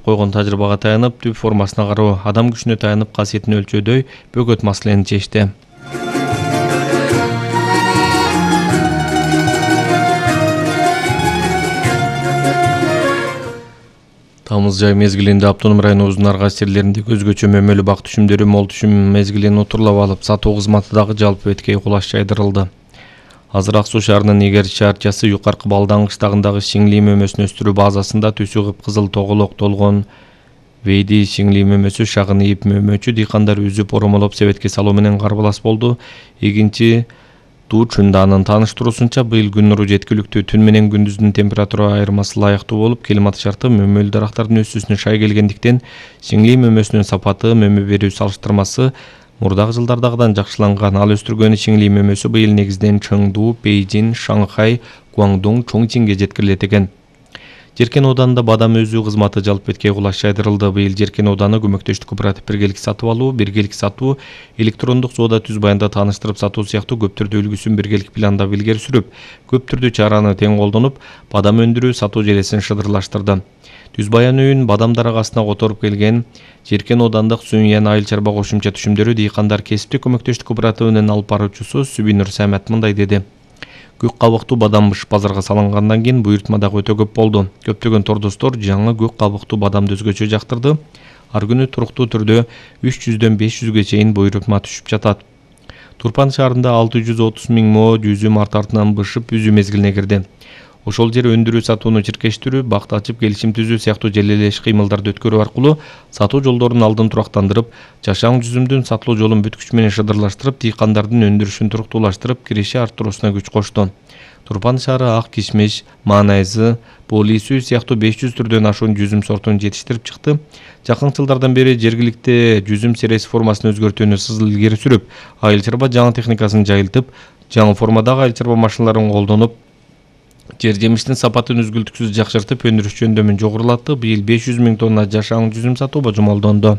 койгон тажрыйбага таянып, түп формасына кароо, адам күчүнө таянып касиетин өлчөөдөй бөгөт маселени чечти. Тамыз жай мезгилинде автоном районубуздун ар кайсы жерлеринде өзгөчө мөмөлүү бак түшүмдөрү мол түшүм мезгилин утурлап алып, сатуу кызматы дагы жалпы беткей кулаш жайдырылды. Азыр Ак Суу шаарынын Игер шаарчасы Юкаркы Балдан кыштагындагы шиңли мөмөсүн өстүрүү базасында түсү кыпкызыл тоголок толгон вейди шиңли мөмөсү шагын ийип мөмөчү дыйкандар үзүп оромолоп себетке салуу менен карбалас болду. Эгинчи Туучунданын тааныштыруусунча, быйыл күн нуру жеткиликтүү, түн менен күндүздүн температура айырмасы ылайыктуу болуп, климат шарты мөмөлүү дарактардын өсүүсүнө шай келгендиктен, шиңли мөмөсүнүн сапаты, мөмө берүү салыштырмасы мурдагы жылдардагыдан жакшыланган. Ал өстүргөн шиңли мөмөсү быйыл негизинен Чыңду, Бейжин, Шанхай, Гуандун, Чоңчинге жеткирилет экен. Жеркен ауданында бадам өзүү кызматы жалпы беткей кулаш жайдырылды. Быйыл Жеркен ауданы көмөктөштүк кооператив биргелик сатып алуу, биргелик сатуу, электрондук соода түз баянда тааныштырып сатуу сыяктуу көп түрдүү үлгүсүн биргелик пландап илгери сүрүп, көп түрдүү чараны тең колдонуп, бадам өндүрүү, сатуу желесин шыдырлаштырды. Түз баян үйүн бадам дарагасына которуп келген Жеркен аудандык Сүйүн айыл чарба кошумча түшүмдөрү дыйкандар кесиптик көмөктөштүк кооперативинин алып баруучусу Сүбүнүр Самат мындай деди. Көк кабыктуу бадам базарга салынгандан кийин буйртма дагы өтө көп болду. Көптөгөн тордоштор жаңы көк кабыктуу бадамды өзгөчө жактырды. Ар күнү туруктуу түрдө 300дөн 500ге чейин буйртма түшүп жатат. Турпан шаарында 630 000 мо жүзүм арт артынан бышып үзүү мезгилине кирди. Ошол жер өндүрүү сатууну чиркештирүү, бакт ачып келишим түзүү сыяктуу желелеш кыймылдарды өткөрүү аркылуу сатуу жолдорунун алдын турактандырып, жашаң жүзүмдүн сатылуу жолун бүт күч менен шыдырлаштырып, дыйкандардын өндүрүшүн туруктуулаштырып, киреше арттыруусуна күч кошту. Турпан шаары ак кишмиш, маанайзы, полисүү сыяктуу 500 түрдөн ашуун жүзүм сортун жетиштирип чыкты. Жакын жылдардан бери жергиликте жүзүм сереси формасын өзгөртүүнү сызыл илгери сүрүп, айыл чарба жаңы техникасын жайылтып, жаңы формадагы айыл чарба машиналарын колдонуп, жер жемиштин сапатын үзгүлтүксүз жакшыртып, өндүрүш жөндөмүн жогорулатты. Быйыл 500 000 тонна жашаң жүзүм сатуу божомолдонду.